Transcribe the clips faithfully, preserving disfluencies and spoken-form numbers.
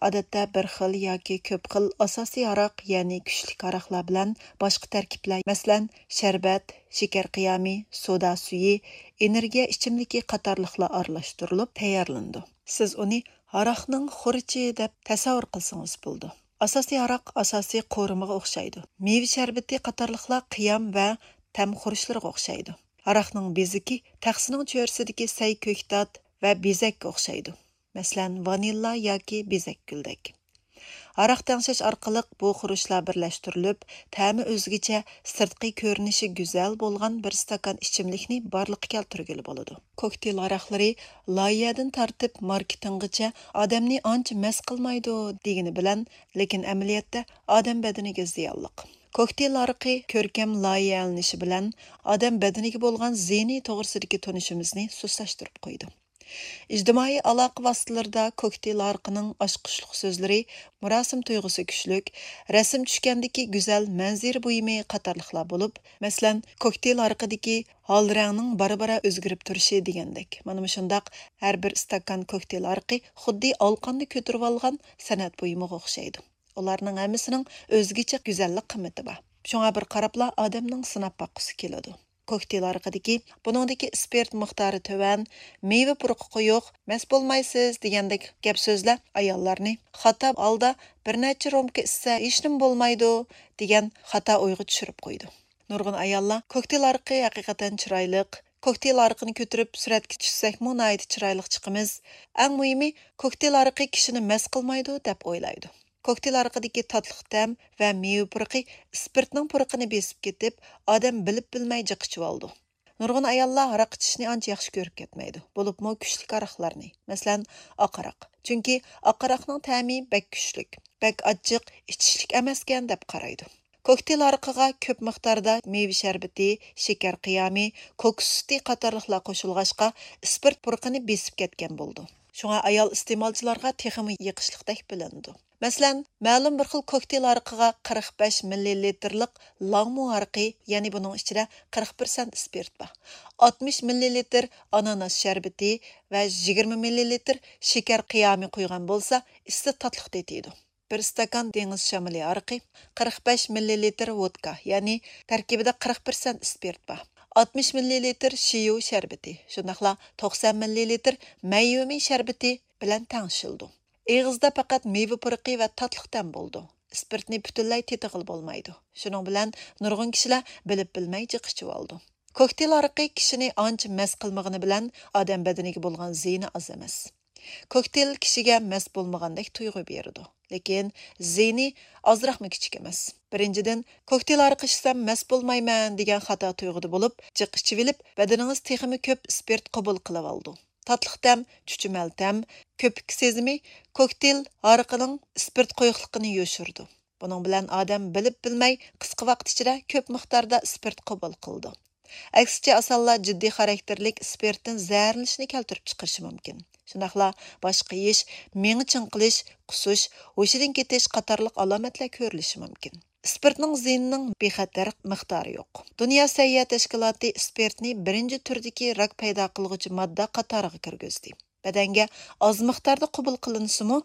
ئادەتتە بىر خىل ياكى كۆپ خىل ئاساسىي ھاراق، يەنى كۈچلۈك ھاراقلار بىلەن باشقا تەركىبلەر، مەسىلەن، شەربەت، شېكەر قىيامى، سودا سۈيى، ئېنېرگىيە ئىچىملىكى قاتارلىقلار ئارىلاشتۇرۇلۇپ تەييارلىنىدۇ. سىز ئۇنى ھاراقنىڭ خورىچى دەپ تەسەۋۋۇر قىلسىڭىز بولىدۇ. ئاساسىي ھاراق ئاساسىي قورۇمىغا ئوخشايدۇ. مېۋە شەربىتى قاتارلىقلار قىيام ۋە تەم خۇرۇچلىرىغا ئوخشايدۇ. ھاراقنىڭ بېزىكى تەخسىنىڭ چۆرىسىدىكى سەي كۆكتات ۋە بېزەككە ئوخشايدۇ. مەسىلەن، ۋانىللا ياكى بېزەكگۈلدەك. ھاراق تەڭشەش ئارقىلىق بۇ خۇرۇچلار بىرلەشتۈرۈلۈپ، تەمى ئۆزگىچە، سىرتقى كۆرۈنۈشى گۈزەل بولغان بىر ئىستاكان ئىچىملىكنى بارلىققا كەلتۈرگىلى بولىدۇ. كوكتېيل ھاراقلىرى لايىھەدىن تارتىپ ماركېتىنغىچە ئادەمنى ئانچە مەست قىلمايدۇ دېگىنى بىلەن، لېكىن ئەمەلىيەتتە ئادەم بەدىنىگە زىيانلىق. كوكتېيل ھارىقى كۆركەم لايىھەلىنىشى بىلەن ئادەم بەدىنىگە بولغان زىيىنى توغرىسىدىكى تونۇشىمىزنى سۇسلاشتۇرۇپ قويىدۇ. ئىجتىمائىي ئالاقە ۋاسىتىلىرىدا كوكتېيل ھارىقىنىڭ ئاچقۇچلۇق سۆزلىرى، مۇراسىم تۇيغۇسى كۈچلۈك، رەسىم چۈشكەندىكى گۈزەل مەنزىرە بۇيۇمى قاتارلىقلار بولۇپ، مەسىلەن، كوكتېيل ھارىقىدىكى ھال رەڭنىڭ بارا-بارا ئۆزگىرىپ تۇرۇشى دېگەندەك. مانا مۇشۇنداق ھەر بىر ئىستاكان كوكتېيل ھارىقى خۇددى ئالقاندا كۆتۈرۈۋالغان سەنئەت بۇيۇمىغا ئوخشايدۇ. ئۇلارنىڭ ھەممىسىنىڭ ئۆزگىچە گۈزەللىك قىممىتى بار. شۇڭا بىر قاراپلا ئادەمنىڭ سىناپ باققۇسى كېلىدۇ. كوكتېيل ھارىقىدىكى، بۇنىڭدىكى ئىسپىرت مىقدارى تۆۋەن، مېۋە پۇرىقى قويۇق، مەست بولمايسىز دېگەندەك گەپ سۆزلەر ئاياللارنى خاتا ھالدا بىر نەچچە رومكا ئىچسە ھېچنېمە بولمايدۇ دېگەن خاتا ئويغا چۈشۈرۈپ قويىدۇ. نۇرغۇن ئاياللار كوكتېيل ھارىقى ھەقىقەتەن چىرايلىق، كوكتېيل ھارىقىنى كۆتۈرۈپ سۈرەتكە چۈشسەكمۇ ناھايىتى چىرايلىق چىقىمىز. ئەڭ مۇھىمى، كوكتېيل ھارىقى كىشىنى مەست قىلمايدۇ دەپ ئويلايدۇ. كوكتېيل ھارىقىدىكى تاتلىق تەم ۋە مېۋە پۇرىقى ئىسپىرتنىڭ پۇرىقىنى بېسىپ كېتىپ، ئادەم بىلىپ بىلمەي جىق ئىچىۋالىدۇ. نۇرغۇن ئاياللار ھاراق ئىچىشنى ئانچە ياخشى كۆرۈپ كەتمەيدۇ، بولۇپمۇ كۈچلۈك ھاراقلارنى، مەسىلەن، ئاق ھاراق. چۈنكى ئاق ھاراقنىڭ تەمى بەك كۈچلۈك، بەك ئاچچىق، ئىچىشلىك ئەمەسكەن دەپ قارايدۇ. كوكتېيل ھارىقىغا كۆپ مىقداردا مېۋە شەربىتى، شېكەر قىيامى، كوكۇس سۈتى قاتارلىقلار قوشۇلغاچقا، ئىسپىرت پۇرىقىنى بېسىپ كەتكەن بولىدۇ. شۇڭا ئايال ئىستېمالچىلارغا تېخىمۇ يېقىشلىقتەك بىلىنىدۇ. مەسىلەن، مەلۇم بىر خىل كوكتېيل ھارىقىغا قىرىق بەش مىللىلىتىرلىق لانگمۇ ھارىقى، يەنى بۇنىڭ ئىچىدە قىرىق پىرسەنت ئىسپىرت بار، ئاتمىش مىللىلىتىر ئاناناس شەربىتى ۋە يىگىرمە مىللىلىتىر شېكەر قىيامى قويغان بولسا، ئىسسىق تاتلىق تېتىيدۇ. بىر ئىستاكان دېڭىز شامىلى ھارىقى، قىرىق بەش مىللىلىتىر ۋودكا، يەنى تەركىبىدە قىرىق پىرسەنت ئىسپىرت بار، ئاتمىش مىللىلىتىر شىيۇ شەربىتى، شۇنداقلا توقسان مىللىلىتىر مەيۋىمى شەربىتى بىلەن تەڭشىلىدۇ. ئېغىزدا پەقەت مېۋە پۇرىقى ۋە تاتلىق تەم بولىدۇ. ئىسپىرتنى پۈتۈنلەي تېتىغىلى بولمايدۇ. شۇنىڭ بىلەن نۇرغۇن كىشىلەر بىلىپ بىلمەي جىق ئىچىۋالىدۇ. كوكتېيل ھارىقى كىشىنى ئانچە مەست قىلمىغىنى بىلەن ئادەم بەدىنىگە بولغان زىيىنى ئاز ئەمەس. كوكتېيل كىشىگە مەست بولمىغاندەك تۇيغۇ بېرىدۇ. لېكىن زىيىنى ئازراقمۇ كىچىك ئەمەس. بىرىنچىدىن، كوكتېيل ھارىقى ئىچسەم مەست بولمايمەن دېگەن خاتا تۇيغۇدا بولۇپ، جىق ئىچىۋېلىپ، بەدىنىڭىز تېخىمۇ كۆپ ئىسپىرت قوبۇل قىلىۋالىدۇ. تاتلىق تەم، چۈچۈمەل تەم، كۆپۈك سېزىمى كوكتېيل ھارىقىنىڭ ئىسپىرت قويۇقلۇقىنى يوشۇرىدۇ. بۇنىڭ بىلەن ئادەم بىلىپ بىلمەي قىسقا ۋاقىت ئىچىدە كۆپ مىقداردا ئىسپىرت قوبۇل قىلىدۇ. ئەكسىچە ئاسانلا جىددىي خاراكتېرلىك ئىسپىرتتىن زەھەرلىنىشنى كەلتۈرۈپ چىقىرىشى مۇمكىن. شۇنداقلا باش قېيىش، مېڭە چىڭقىلىش، قۇسۇش، ھوشىدىن كېتىش قاتارلىق ئالامەتلەر كۆرۈلۈشى مۇمكىن. ئىسپىرتنىڭ زىيىنىنىڭ بىخەتەر مىقدارى يوق. دۇنيا سەھىيە تەشكىلاتى ئىسپىرتنى بىرىنچى تۈردىكى راك پەيدا قىلغۇچى ماددا قاتارىغا كىرگۈزدى. بەدەنگە ئاز مىقداردا قوبۇل قىلىنسىمۇ،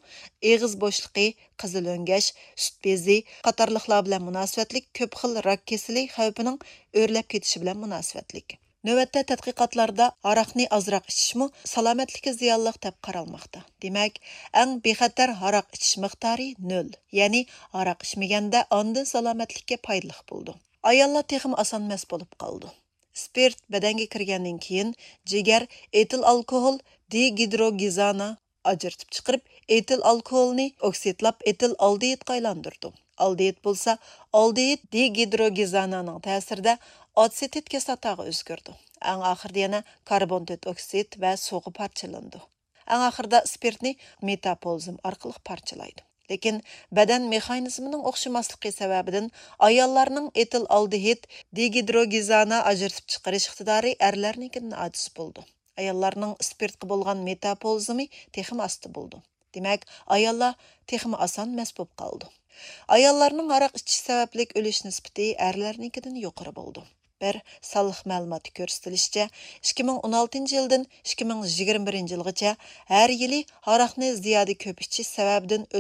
ئېغىز بوشلۇقى، قىزىل ئۆڭگەش، سۈت بېزى قاتارلىقلار بىلەن مۇناسىۋەتلىك كۆپ خىل راك كېسىلى خەۋپىنىڭ ئۆرلەپ كېتىشى بىلەن مۇناسىۋەتلىك. نۆۋەتتە تەتقىقاتلاردا ھاراقنى ئازراق ئىچىشمۇ سالامەتلىككە زىيانلىق دەپ قارالماقتا. دېمەك، ئەڭ بىخەتەر ھاراق ئىچىش مىقدارى نۆل، يەنى ھاراق ئىچمىگەندە ئاندىن سالامەتلىككە پايدىلىق بولىدۇ. ئاياللار تېخىمۇ ئاسان مەست بولۇپ قالىدۇ. ئىسپىرت بەدەنگە كىرگەندىن كېيىن، جىگەر ئېتىل ئالكوھول دېگىدروگېزانا ئاجرىتىپ چىقىرىپ، ئېتىل ئالكوھولنى ئوكسىدلاپ ئېتىل ئالدېھىدقا ئايلاندۇرىدۇ. ئالدېھىد بولسا ئالدېھىد دېگىدروگېزانانىڭ تەسىرىدە ئاتسېتىت كىسلاتاغا ئۆزگىرىدۇ. ئەڭ ئاخىرىدا يەنە كاربون تۆت ئوكسىد ۋە سۇغا پارچىلىنىدۇ. ئەڭ ئاخىرىدا ئىسپىرتنى مېتاپولزىم ئارقىلىق پارچىلايدۇ. لېكىن بەدەن مېخانىزمىنىڭ ئوخشىماسلىقى سەۋەبىدىن ئاياللارنىڭ ئېتىل ئالدېھىد دېگىدروگېزانا ئاجرىتىپ چىقىرىش ئىقتىدارى ئەرلەرنىڭكىدىن ئاجىز بولىدۇ. ئاياللارنىڭ ئىسپىرتقا بولغان مېتاپولىزمى تېخىمۇ ئاستا بولىدۇ. دېمەك، ئاياللار تېخىمۇ ئاسان مەست بولۇپ قالىدۇ. ئاياللارنىڭ ھاراق ئىچىش سەۋەبلىك ئۆلۈش نىسبىتى ئەرلەرنىڭكىدىن يۇقىرى بولىدۇ. بىر سانلىق مەلۇماتتا كۆرسىتىلىشىچە، ئىككى مىڭ ئون ئالتىنچى يىلدىن ئىككى مىڭ يىگىرمە بىرىنچى يىلغىچە ھەر يىلى ھاراقنى زىيادە كۆپ ئىچىش سەۋەبىدىن